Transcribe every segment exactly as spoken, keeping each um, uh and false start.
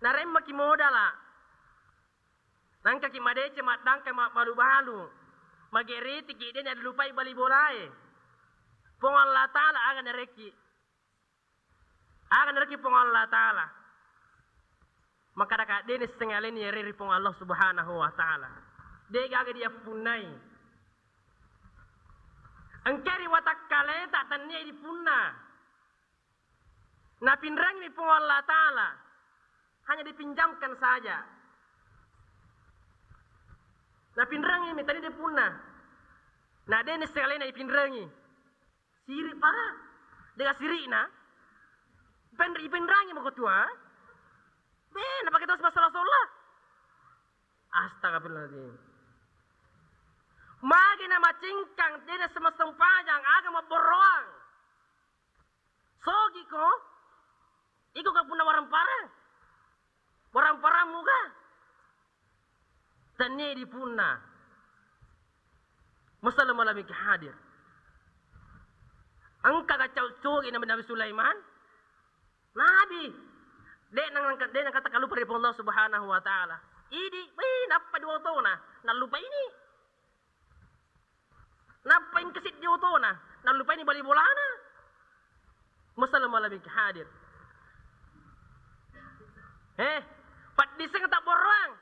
Naremmaki modala, nangkaki madeceng maddangka mabbalu-balu, mageritiki de' nalupai bali bolae. Puang Allah Ta'ala aga narekki. Aga narekki Puang Allah Ta'ala. Makkadaka de' nisseng aleni ere ri Puang Allah Subhanahu wa Ta'ala. De' gaga diappunnai. Engka ri watakkaleta tennia dipunna. Napinrengngi Puang Allah Ta'ala. Hanya dipinjamkan saja. Napinrengngi mi tadi dipunna. Na de' nisseng alena dipinrengngi. Siri' para. Dega siri'na. Pen-, ipinrengngi mako tua. Be, napake terus masalah sholat. Astagfirullahaladzim. Magi na macingkang, de' na sempajang, aga mabborroang. Sogi ko, iko ka punna warang parang. Warang parang muga. Tennia dipunna. Masalah malamiki hadir. Engka kacau sogi Nabi, Nabi Sulaiman. Nabi, de' nang-, de' nangkata kalupa ri Puang Allah Subhanahu wa Ta'ala. Idi, wih, nappa dua tona, nallupa ini. Nappa engka siddi otona, nallupaini bali bolana. Masalah malamiki hadir. Eh, paddisseng tabborroang.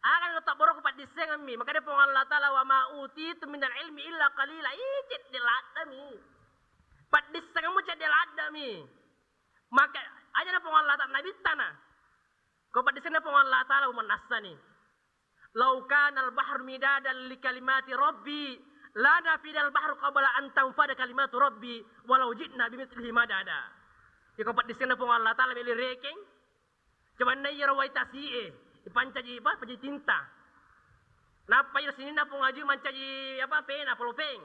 Aga lo tabborroku paddissengemmi. Makanya Puang Allah Ta'ala, "Wa ma utitu minal ilmi illa qalila." Ih, cedde' laddami. Paddissengemmu cedde' laddami. Maka aja na Puang Allah Ta'ala nabittana. Ko paddissenna Puang Allah Ta'ala mannassani. "Lau kanal bahru midadan li kalimati rabbi, lanafidal bahru qabla an tanfada kalimatu rabbi, walau ji'na bimitslihi madada." Iko paddissenna Puang Allah Ta'ala meli rekeng. Coba na iyaro wai tasi'e, ipancaji apa? Pancaji tinta. Nappa iyaro sininna Puang Haji mancaji apa? Pena, polopeng.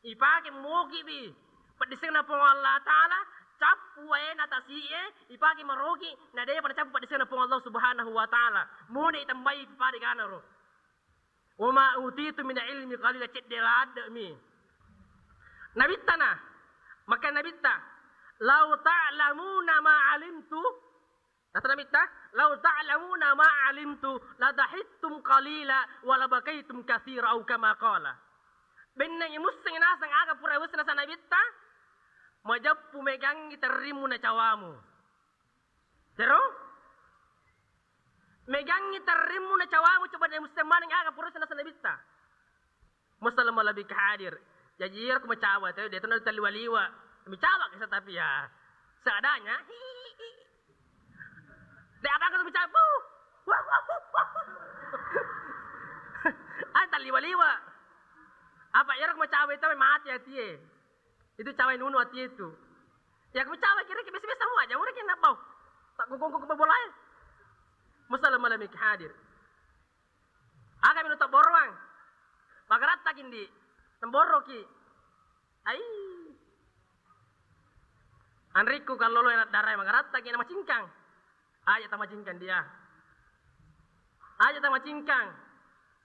Ipake moki'bi paddissenna Puang Allah Ta'ala, cappu waena tasi'e, ipake maroki, na de'pa nacappu paddissenna Puang Allah Subhanahu wa Ta'ala. Mone itambai pada ganaro. "Wa ma utitu min ilmi qalila," cedde' ladde'mi. Nabittana, maka nabitta, "Lau ta'lamuna ma alimtu," Kata Nabitta, "Lau ta'lamuna ma alimtu, la dahiktum qalila, wa la bakaitum katsira," au kama qala. Bennengngi musseng naseng aga pura wisseng naseng Nabitta, majeppu megangngi terrimmu na cawamu. Tero? Megangngi terrimmu na cawamu, coba de' musseng maneng aga pura wisseng naseng Nabitta. Masalah malebbi hadir. Jaji iyaro ku macawa, tapi de' to na taliwa-liwa. Micawa kisa tapi ya. Seadanya. De' apa kata micawa. Ai taliwa-liwa. Apa iyaro ku macawa itu mati atie. Itu cawa nunu atie itu. Ya ku macawa kira-kira biasa-biasa mua aja, ura kena bau. Tak gogong-gogong bolae. Masalah malebbi hadir. Aga melo tabborroang. Magarattaki ndi. Temborroki. Ai. Anrikku kallolo enak darai magarattaki na macingkang. Aja tamacingkang dia. Aja tamacingkang.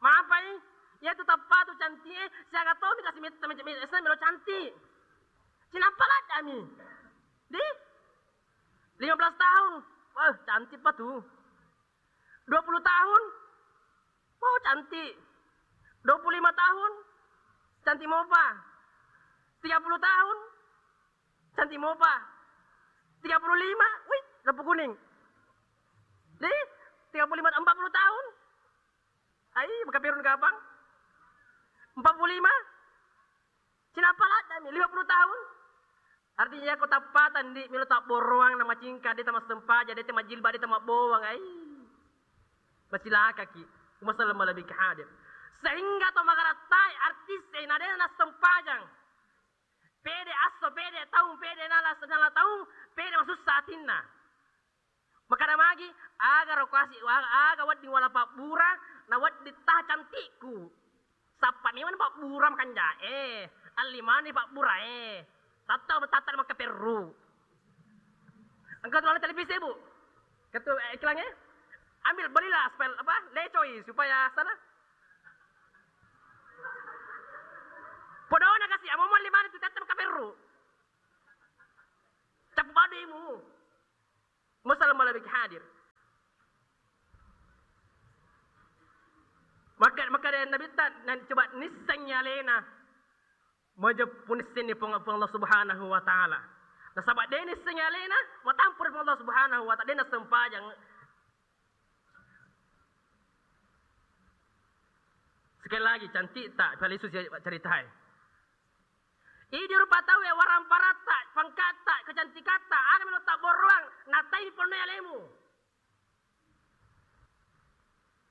Mapai? Iya tu tappa tu cantik e, siaga tomi kasi metta melo cantik. Cinappa laddami. Di? Lima belas tahun. Wah, cantik pa tu. Dua puluh tahun, wow, cantik. Dua puluh lima tahun, cantik mopa. Tiga puluh tahun, cantik mopa. Tiga puluh lima, wih, lampu kuning. Di, tiga puluh lima, empat puluh tahun. Ai, maka perun kapang. Empat puluh lima, cinappa laddami, lima puluh tahun. Artinya, ko tappatang, ndi, melo tabborroang na macingka, de' tamassempajang, de' tamajilba, de' tamabbowang, ai. Macilakaki. Masalah malebbi hadir. Sehingga to magarattai artis e na de' nassempajang. Pede asso, pede taung, pede nala, nala taung, pede masussa atinna. Makkada magi, aga ro kasi, aga, aga wedding wala pabbura, na wedding taha cantikku. Sappa memang pabbura makanjae, alli mani pabburae. Tatta tatta makkaperru. Engka tu televisi, Bu. Ketu, eh, iklannya. Ambil, belilah spel apa? Lecoi supaya sana. Podona kasi, amo alli mani tu tatta makkaperru. Cappu baduimu. Masalah malebbi hadir. Maka, maka dari Nabitta, na coba nissengngi alena, majeppu nissenni Puang, Puang Allah Subhanahu wa Ta'ala. Nasaba de nissengngi alena, matampuri Puang Allah Subhanahu wa Ta'ala, de nassempajang. Sekali lagi, cantikta, palisu si ceritae. Idi rupa tau e, waramparatta, pangkatta, kecantikatta, aga melo tabborroang, natai pennoi alemu.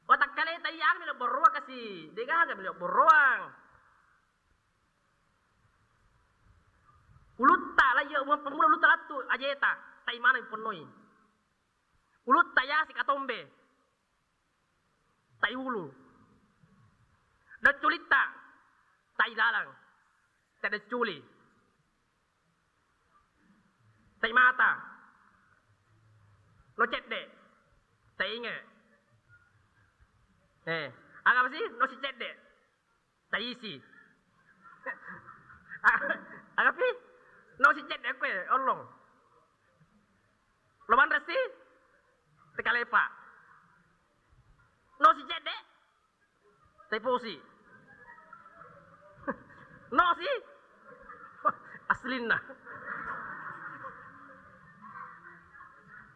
Watakkaleta iya aga melo borroang kasi, degaga melo borroang. Ulutta la iya, pemmula ulutta lattu ajeta, tai maneng pennoi. Ulutta yasi katombe. Tai ulu. Decculitta, tai lalang. Tai decculi. Tai mata. No cedde. Tai inge. Eh, aga apa sih? No si cedde. Taisi. Agapi? No si cedde kue, ollong. Lo manresi? Tekalepa. No si cedde? Teposi. No si? Aslinna.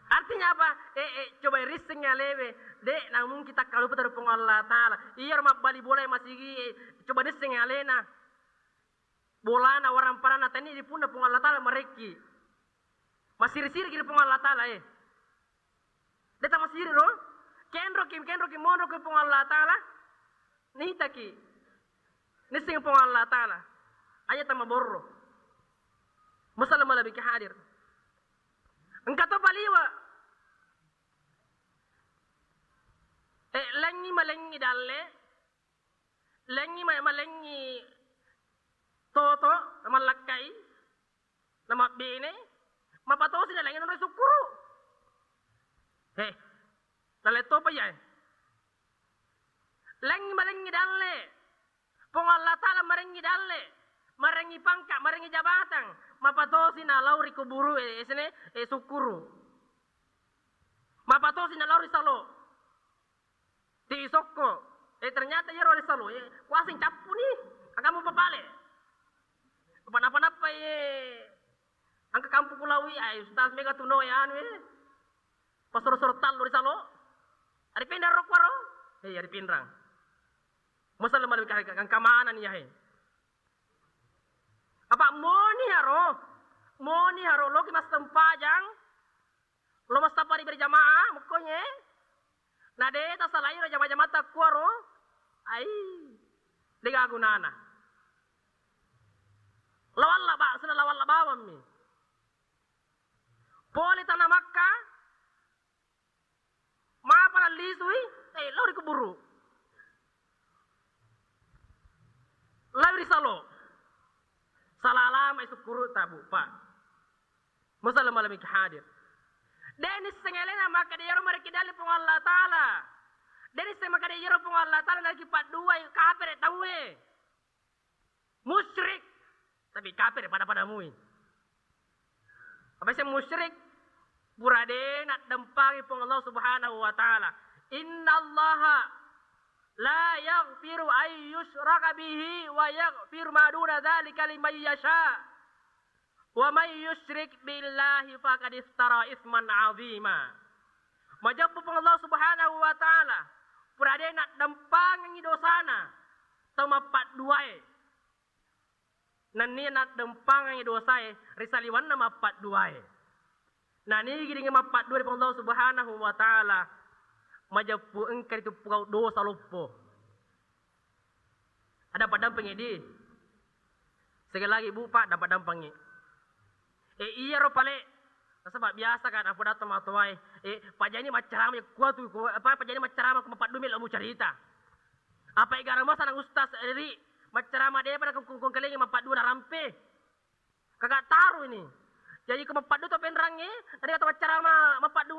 Artinya apa? Eh, eh, coba risseng alewe. De, namun kita kalupa dari Puang Allah Ta'ala. Iya, mabbali bola masigi, eh, coba risseng alena. Bolana, waramparanna, tani di punna Puang Allah Ta'ala marekki. Masiri-siri ki Puang Allah Ta'ala, eh. De tamasiri ro. Kenro ki, kenro ki, monro ki Puang Allah Ta'ala. Nitaki. Nisseng Puang Allah Ta'ala. Aja tamaborro. Masalah malabiki hadir. Engka to paliwa. Eh, lengngi malengngi dalle, lengngi ma-, malengngi toto, namallakkai, namabbene, mapatosi na lengngi nonroi sukkuru. He, dalle topa iya, eh. Lengngi malengngi dalle, Puang Allah Ta'ala marengngi dalle, marengngi pangka, marengngi jabatang, mapatosi na lao ri kuburu, eh, esene, eh, sukkuru. Mapatosi na lao ri salo. Ti sokko. Eh, ternyata iyaro ri salo, eh, kuaseng cappu ni. Agamu papale. Apa napa-napa, eh, angka kampung kulawi, ai, ustaz mega tuno, eh, anu, eh. Pasoro-soro tallu ri salo. Ari pinrang ro kuaro? Eh, ari pinrang. Masalah malebih ka-, ka-, kangkamana ni yahe. Apa moni haro? Moni haro loki massempajang? Lo massapari berjamaah, mukkonye? Na de tasalai ro jama-jamata kuaro? Ai, de gaga gunana. Lawalla ba-, sena lawalla bawammi. Pole tana Makka, mapa nallisui, eh, lao ri kuburu. Lao ri salo. Salalama i sukkuru tabu, Pak. Masalah malam iki hadir. De nisseng alena makkeda iyaro marekki dalle Puang Allah Ta'ala. De nisseng makkeda iyaro Puang Allah Ta'ala narekki padduai kapere tauwe. Musyrik, tapi kapere pada-pada mui. Apa sih musyrik? Pura de naddempangi Puang Allah Subhanahu wa Ta'ala. Innallaha la yaghfiru an yushraka bihi wa yaghfiru ma duna dzalika liman yasha. Wa may yusyrik billahi faqad iftara isman azima. Majeppu Puang Allah Subhanahu wa Ta'ala, pura de naddempangengi dosana tau mappadduae. Nennia naddempangengi dosae ri saliwenna mappadduae. Nanigi ringi mappaddua ri Puang Allah Subhanahu wa Ta'ala, majeppu engka ritu pogau dosa loppo. Ada padampengi di. Sekali lagi, Bu, Pak, dapat dampangi. Eh, iyaro pale. Nasaba biasa kan, apa datang matoae. Eh, pajani maccarama kuatu, ku, apa, pajani maccarama ku mapaddu melo mucarita. Apa igara masa nang ustaz ri maccarama de pada kungkung kelengi mapaddu narampe. Kagak taru ini. Jadi ko mapaddu to penrangi, tadi kata maccarama mapaddu,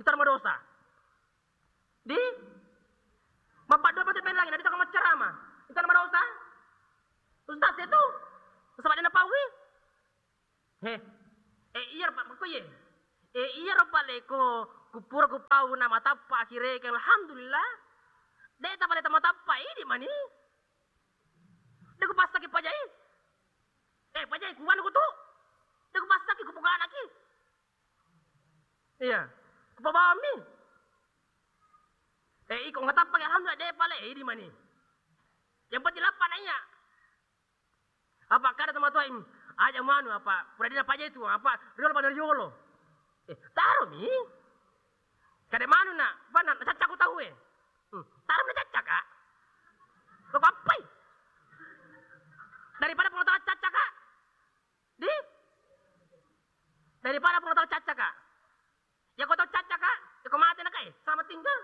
ntar madosa. Di? Mappaddua pati penrangi, na ditokko maccarama. Itu nama dosa? Ustaz itu? Sebab dia napaui? He. Eh, iya, Pak, kok iya? Eh, iya, Pak, leko, kupura kupau, nama tappa, akhirnya, kan, alhamdulillah. De' tapale tama tappa, idi mani. De' kupassaki pajai. Eh, pajai kuwanu kutu. De' kupassaki kupuganaki. Iya. Kupabawammi. Eh, iko ngatappa, alhamdulillah, de' pale, idi mani. Yang penting lappa na iya. Apa kada tomatoa, "Im, aja manu apa, pura dina paja itu, apa, riolo pada riolo." Eh, taro mi. Kada manu na, bana, na cacca ko tau e. Hmm, taro na cacca, Kak. Lo papai. Daripada pengetahuan cacca, Kak. Di? Daripada pengetahuan cacca, Kak. Ya, ko tau cacca, Kak? Ya, ko mate na, Kak, eh? Selamat tinggal.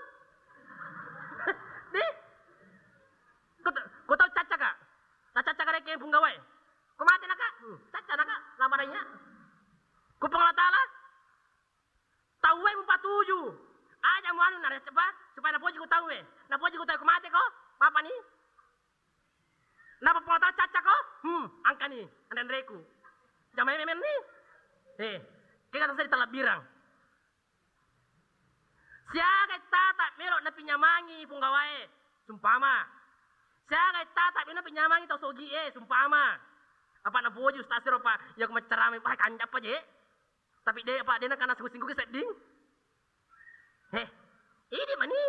Di? Ko ta-, ko tau cacca, Kak? Na cacca, Kak, rekeng punggawa e. Ko mate na, Kak? Hmm, cacca na, Kak. Lama nanya. Ko Puang Allah Taala, tau e mupatuju. Aja mu anu na, coba, supaya napoji ko tau e. Napoji ko tau e, ko mate ko? Apa ni? Napa pengetahuan cacca ko? Hmm, angkani, anre-anreku. Jamai memenni. Eh, kega tasadi talabbirang. Siaga tata melo napinyamangi punggawa e, sumpama. Siaga tata melo napinyamangi tau sogi e, sumpama. Apa napoji ustaz ro, Pak? Ya, ko maccarama, wah, kanjappa je. Tapi de', Pak, de' nakana singgu-singgu ke sedding. Heh, idi mani.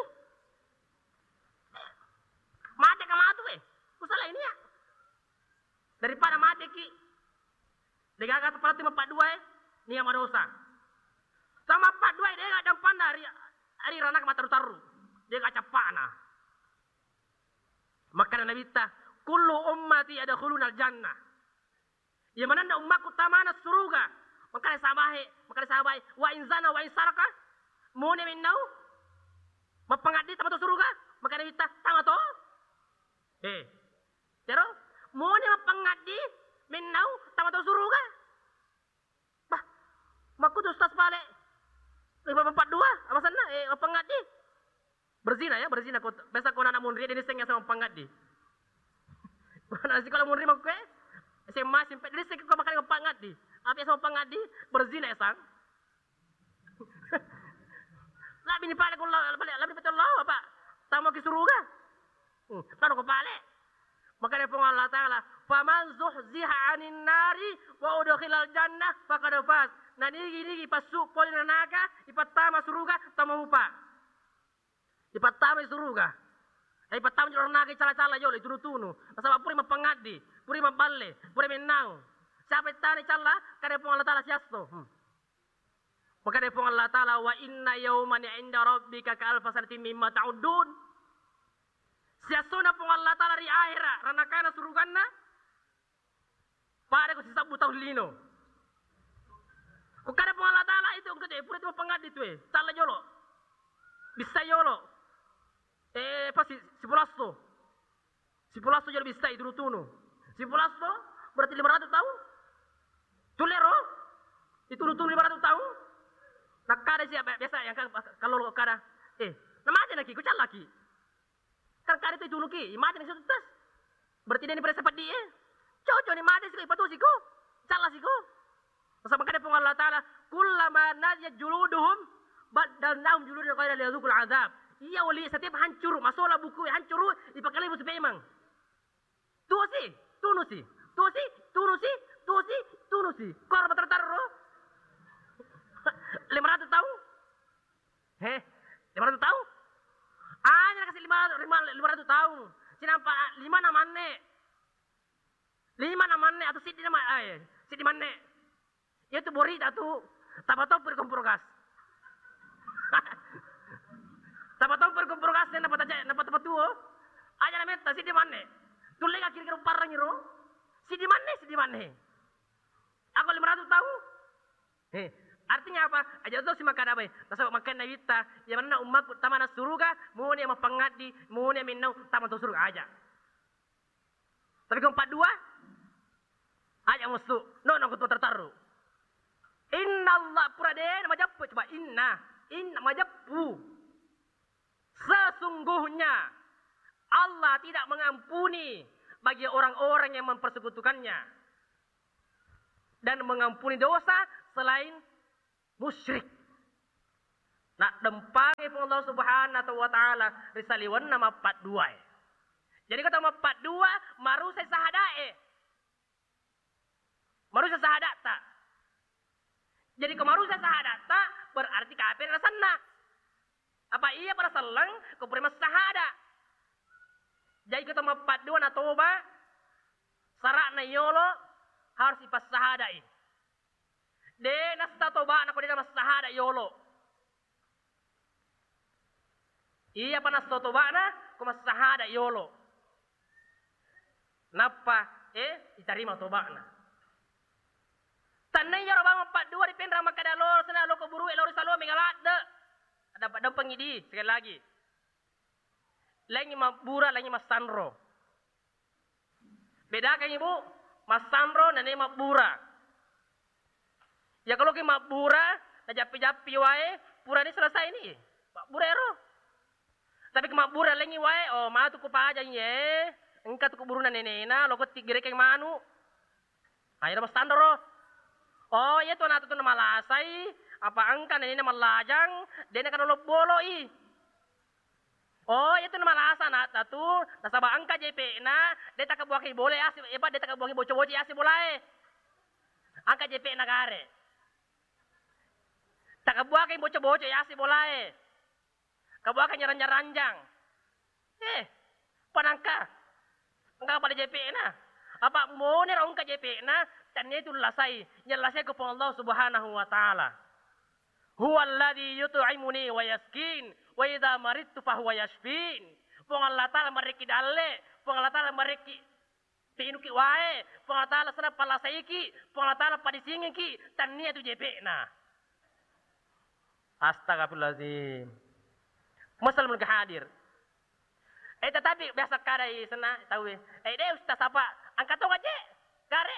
Mate ka matu e. Kusala ini ya. Daripada mate ki. Degaga tepati mappaddua e, nia madosa. Sama mappaddua e, dega dampanna ari, ari ranaka mataru-taru. Dega cappana. Makkana Nabitta, "Kullu ummati yadkhulunal jannah." Iya manenna ummakku tamana suruga. Makkana sahabae, makkana sahabae, "Wa in zana wa in saraka?" Mone mennau mappangaddi tama to suruga? Makkana Nabitta, "Tama to." Eh. Jaro, mone mappangaddi mennau tama to suruga? Bah, makkutu Ustaz pale. Lima empat dua, apa senna? Eh, mappangaddi. Berzina ya, berzina ko. Biasa ko anak munri, de' nissengngi aseng mappangaddi. Anak sikola munri makku e, S M A, S M P, de' nissengngi ko makkeda mappangaddi. Apa aseng mappangaddi? Berzina ya, sang. Labbi ni pale ko lao, pale, labbi ni pale lao, apa? Tama ki suruga. Hmm, tano ko pale. Makkeda Puang Allah Taala, "Faman zuhziha 'anin nari wa udkhilal jannah faqad faz." Nanigi-nigi passu pole ranaka, ipattama suruga, tama mupa. Ipattama suruga. Eh, ipattama jolo ranaka, icala-cala jolo, itunu-tunu. Nasaba pura mappangaddi, pura mabballe, pura mennau. Siapa ittana icalla? Kada Puang Allah Taala siasso. Hmm. Makkeda Puang Allah Taala, "Wa inna yauman 'inda rabbika ka alfa sanatin mimma ta'uddun." Siassona Puang Allah Taala ri ahera, ranakana suruganna, pada ko sisabbu taung lino. Ko kada Puang Allah Taala itu engka tu, eh, pura tu mappangaddi tu, eh, calla jolo. Bissai jolo. Eh, pasti sipulasso. Sipulasso jolo bissai, tunu-tunu. Sipulasso berarti lima ratus taung. Tullero? Itunu-tunu lima ratus taung. Nakkada sia, biasa yang kan kalau lo kada, eh, namate naki, ku callaki. Kan kada tu itunuki, mate ni situ tas. Berarti de' ni paressa peddi e. Cocok ni mate siko, ipatu siko. Calla siko. Nasaba makkeda Puang Allah Taala, "Kullama nadijat juluduhum baddalnahum juludan ghairaha liyadzuqul adzab." Iya oli, setiap hancuru, masola buku hancuru, ipakale busu pemeng. Tusi, tunusi, tusi, tunusi, tusi, tunusi. Kor matar-tarro. Lima ratus taung. He, lima ratus taung? Aja nakasi lima, lima, lima ratus taung. Sinampa lima na manne. Lima na manne atau siddi na ma-, eh, siddi manne. Iya tu borita tu, tapatoppo ri kompor gas. Tapatoppo ri kompor gas, napata-, napatapatuo. Aja na metta, siddi manne. Tulle ga kira-kira parrangi ro? Siddi manne, siddi manne. Ako lima ratus taung? He, artinya apa? Aja to si makkada bae. Nasaba makkeda Nabitta, iya manenna ummakku tamana suruga, mone mappangaddi, mone mennau tama to suruga aja. Tapi ko empat dua, aja musu. No, no, ko tartarru. Inna Allah, pura de' majeppu, coba inna, inna majeppu. Sesungguhnya Allah tidak mengampuni bagi orang-orang yang mempersekutukannya dan mengampuni dosa selain musyrik. Naddempangi Puang Allah Subhanahu wa Ta'ala ri saliwenna mappaddua e. Jadi, ko tau mappaddua, marusai sahadae. Marusai sahadatta. Jadi, ko marusai sahadatta, berarti kafir asenna. Apa iya pada selleng, ko pura massahada. Jadi, ko tau mappaddua natoba, sara'na yolo harus ipassahadai. De nassa toba'na ko de namassahada yolo. Iyapa nassa toba'na ko massahada yolo. Nappa, eh, itarima toba'na. Tanna iyaro bawang paddua ripenrang makkada lo, sena lo kuburu'e lo ri saloe mega ladde. Ada padampengi di, sekali lagi. Laingi mabbura, laingi massanro. Bedakan, Ibu, massanro nennia mabbura. Ya, kalau ki mabbura, najappi-jappi wae, purani selesai ni. Mabbura ero. Tapi ki mabbura lengi wae, oh, matu ku pajang ye. Engka tu kuburuna nenena, loko tiggerekeng manu. Akhirnya massanro. Oh, iya tu anak tu malasai, apa engka nenena mallajang, dena kan lobboloi. Oh, iya tu namalasa anatta tu, nasaba engka jepe'na, de takabbuakengngi bola yase, epa de takabbuakengngi boco-boco yase bolae. Engka jepe'na gare. Takabbuakengngi boco-boco yase bolae. Kabbuakengngi ranjang-ranjang. Eh, panangka. Engka pada jepe'na. Apa monero engka jepe'na, tennia tu lasai, nyalasai ko Puang Allah Subhanahu wa Ta'ala. Huwallazi yut'imuni wa yasqin, wa idza maridtu fahuwa yashfin. Puang Allah Ta'ala marekki dalle, Puang Allah Ta'ala marekki pinuki wae, Puang Allah Ta'ala sana palasaiki, Puang Allah Ta'ala padisingiki, tennia tu jepe'na. Astagfirullahaladzim. Muslim ke hadir. Eh, tetapi biasa kadai sana tahu eh. Eh, deh ustaz apa? Angkat tong aja. Gare.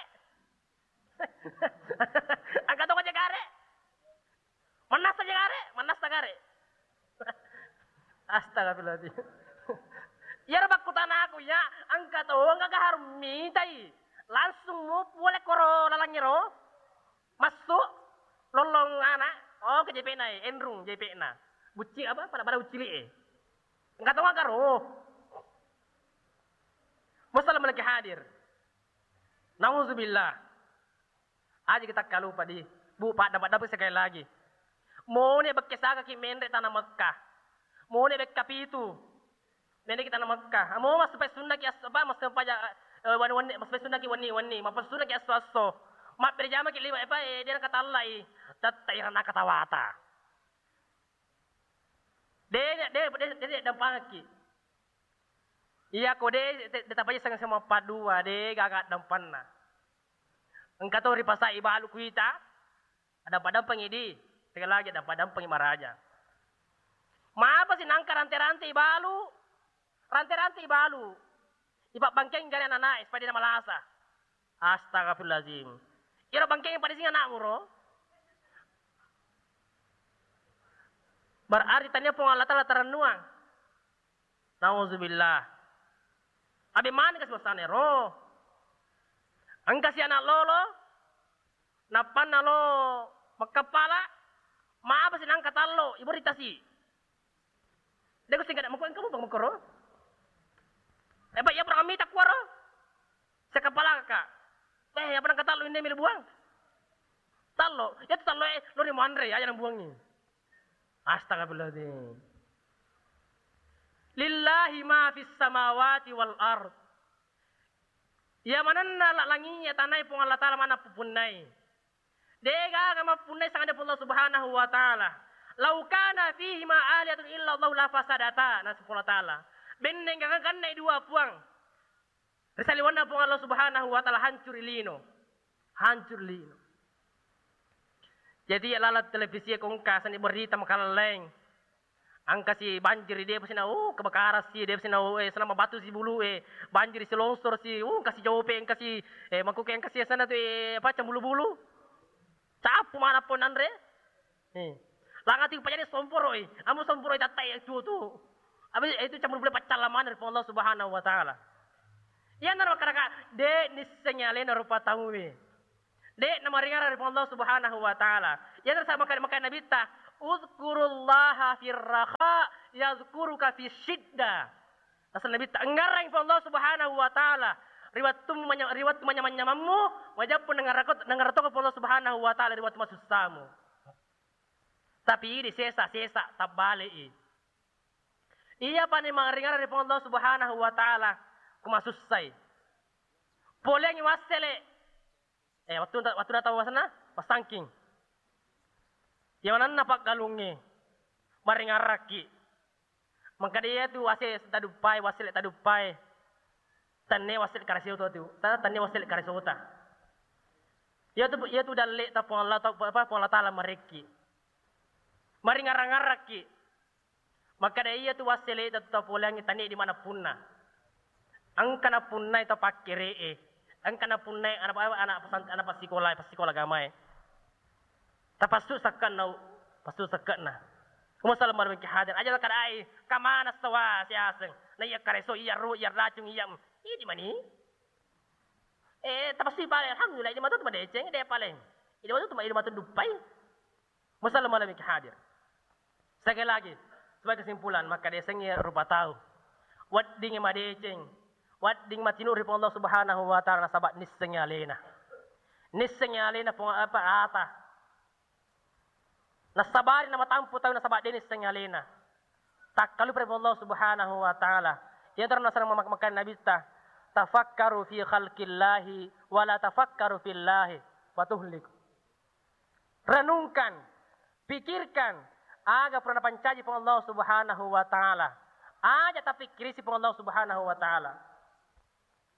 Engka to aja gare. Manassa aja gare, manassa gare. Astagfirullahaladzim. Iyaro pakkutanaku ya, engka to engka harus mitai. Langsung mu pole koro lalangiro. Masuk lollong anak. Oh, ke jepe'na, eh, enrung jepe'na. Bucci apa? Pada-pada bucci li, eh. Engka to engka ro. Muslim lagi hadir. Nauzubillah. Aja kita kalupa di. Bu, pada-pada sekali lagi. Mone bekke sagaki menre tanah Mekah. Mone bekka pitu. Menre kita tanah Mekah. Amo mas sampai sunnaki as-, apa, mas sampai ja-, eh, wani-wani, mas sampai sunnaki wani-wani, mas sunnaki asso-asso. Mappere jamaki lima, apa, eh, dia katallai. Tetta irana katawata. De, de, de, de, de dampangki. Iya ko de, de, de tapaja sama padua, de gaga dampanna. Engka to ripasai balu kuita, adampa-dampengi di, sekali lagi adampa-dampengi maraja. Mapa si nangka rante-rante ibalu? Rante-rante ibalu. Ipabbangkeng gare anak-anak, supaya dia malasa. Astagfirullahaladzim. Iyaro bangkeng pada singa anak muro. Berarti tania Puang Allah Ta'ala tarennuang. Nauzubillah. Abe mani kasi wasane ro. Engka si anak lolo. Nappanna lo makkappala, mapa si nangka tallo, iburitasi. Deko singkat mako engka mupang makoro. Eh, Pak, ya pernah mita kuaro. Sekappala ka. Eh, apa nangka tallo ini mili buang? Tallo, ya tallo eh, lo ni muanre ya yang buangi. Astagfirullahaladzim. Lillahi ma fis samawati wal ard. Iya manenna la-, langi'e tanae Puang Allah Ta'ala mana pupunnai. Degaga mappunnai sangade Puang Allah Subhanahu wa Ta'ala. Lau kana fihima alihatun illa Allah la fasadata, naseng Puang Allah Ta'ala. Benneng gaga gannai dua puang. Risaliwanna Puang Allah Subhanahu wa Ta'ala hancuri lino. Hancuri lino. Jadi, iya laleng televisi e ko engka seni berita makalelleng. Engka si banjir, de pa sina, oh, kebakaran si, de pa sina, oh, eh, selama batu si bulu, eh, banjir si, longsor si, oh, engka si jope, engka si, eh, mangkuke, engka si sana tu, eh, apa, cembulu bulu. Capu mana pun anre. Eh. Langati pajani somporo, eh. Amu somporo tatta, eh, tu, tu. Abi, eh, itu cembulu bulu pacalla mana ri Allah Subhanahu wa Ta'ala. Iya naro karaka, de nisseng alena rupa tauwe. De namaringara ri Allah Subhanahu wa Ta'ala. Iya naro sama kali makai Nabi ta, Udzkurullaha firraha yadzkuruka fisyidda. Asal Nabi ta, engngarang Puang Allah Subhanahu wa Ta'ala ri wettu manya-, ri wettu manyamang-nyamammu, majeppu nengngarako, nengngarako Puang Allah Subhanahu wa Ta'ala ri wettu masussamu. Tapi di sesa-sesa tabbale'i. Iya pani maringarang ri Puang Allah Subhanahu wa Ta'ala ku masussai. Poleangngi wassele. Eh, wettu, wettu tau wasenna, passangking. Iya manenna paggalungnge, maringarakki. Mengkada iya tu wase taduppai, wassele taduppai. Tenne wassele karesota tu, ta-, tenne wassele karesota. Iya tu, iya tu dalle ta Puang Allah, ta-, apa, Puang Allah Ta'ala marekki. Maringarang-ngarakki. Makkeda iya tu wassele ta-, tapoleangngi tania di mana punna. Engka napunnai to pakkere'e, engka napunnai anak, anak pesant-, anak passikola, passikola agamae. Tapassu sakkanna, passu sakkanna. Kuma salama miki hadir. Aja kadai, kamana sawa siaseng. Na iya kareso, iya ru, iya racung, iya. Idi mani. Eh, tapassu pale, alhamdulillah, idi matu madeceng, de paleng. Idi matu, idi matu duppai. Musallam mala miki hadir. Sekali lagi, sebagai kesimpulan, maka desengngi rupa tau. Weddingngi madeceng, wedding matinuru ri Puang Allah Subhanahu wa Ta'ala nasaba nissengngi alena. Nissengngi alena Puang apa ata. Nasabari namatampu tau nasaba de nissengngi alena. Takkalupa ri Puang Allah Subhanahu wa Ta'ala. Iya terus nasang mamak-, makan Nabitta, "Tafakkaru fi khalqillahi wa la tafakkaru fillahi wa tuhliku." Renungkan, pikirkan, aga pura napancaji Puang Allah Subhanahu wa Ta'ala. Aja tapikkirisi Puang Allah Subhanahu wa Ta'ala.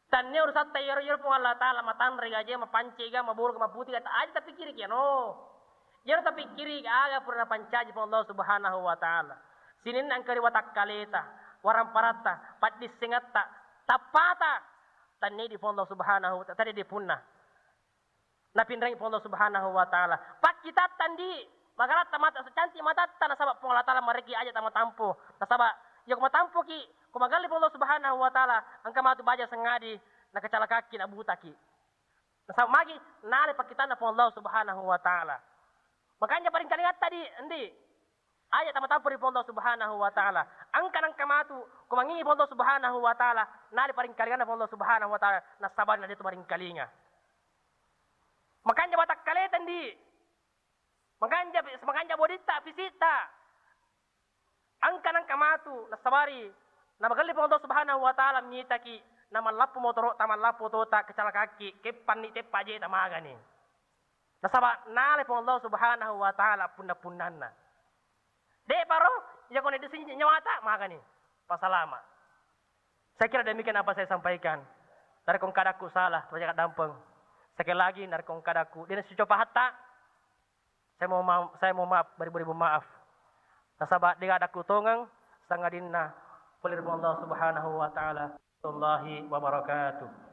Tannia urusatta iyaro, iyaro Puang Allah Ta'ala matanre gaje, mapanci ga, maboro ga, maputi ga, aja tapikkiri kiano. Iyaro tapikkiri aga pura napancaji Puang Allah Subhanahu wa Ta'ala. Sininna engka ri watakkaleta, waramparatta, paddissengatta, tappata. Tannia di Puang Allah Subhanahu wa Ta'ala, tadi di punna. Napinrengi Puang Allah Subhanahu wa Ta'ala. Pakkitatta ndi, magaratta mata, cantik matatta, nasaba Puang Allah Ta'ala marekki aja tamatampo. Nasaba iya ko matampoki, ko magelli Puang Allah Subhanahu wa Ta'ala, engka matu baja sengadi, nakecalakakki, nabutaki. Nasaba magi, nale pakkitanna Puang Allah Subhanahu wa Ta'ala. Makanya paringkalingatta di, ndi. Aja tamatampo ri Puang Allah Subhanahu wa Ta'ala. Engka nengka matu, ko mangingi Puang Allah Subhanahu wa Ta'ala, nale paringkalinganna Puang Allah Subhanahu wa Ta'ala, nasabari na de tu maringkalinga. Makanja watakkaleta ndi. Makanja, makanja boditta, fisitta. Engka nengka matu, nasabari, namagelli Puang Allah Subhanahu wa Ta'ala mitaki, namallappo motoro'ta, mallappo tota, kecalakakki, keppanni teppa jeta magani. Nasaba nale Puang Allah Subhanahu wa Ta'ala punna-punnanna. De paro, iya ko na disinji nyawata, magani. Pasalama. Saya kira demikian apa saya sampaikan. Narekko engka adakku salah, coba dampeng. Sekali lagi, narekko engka adakku, de nasicopa hatta, saya mau ma-, saya mau maaf, beribu-ribu maaf. Nasaba de adakku tongeng, sangadinna pole ri Puang Allah Subhanahu wa Ta'ala. Warahmatullahi wabarakatuh.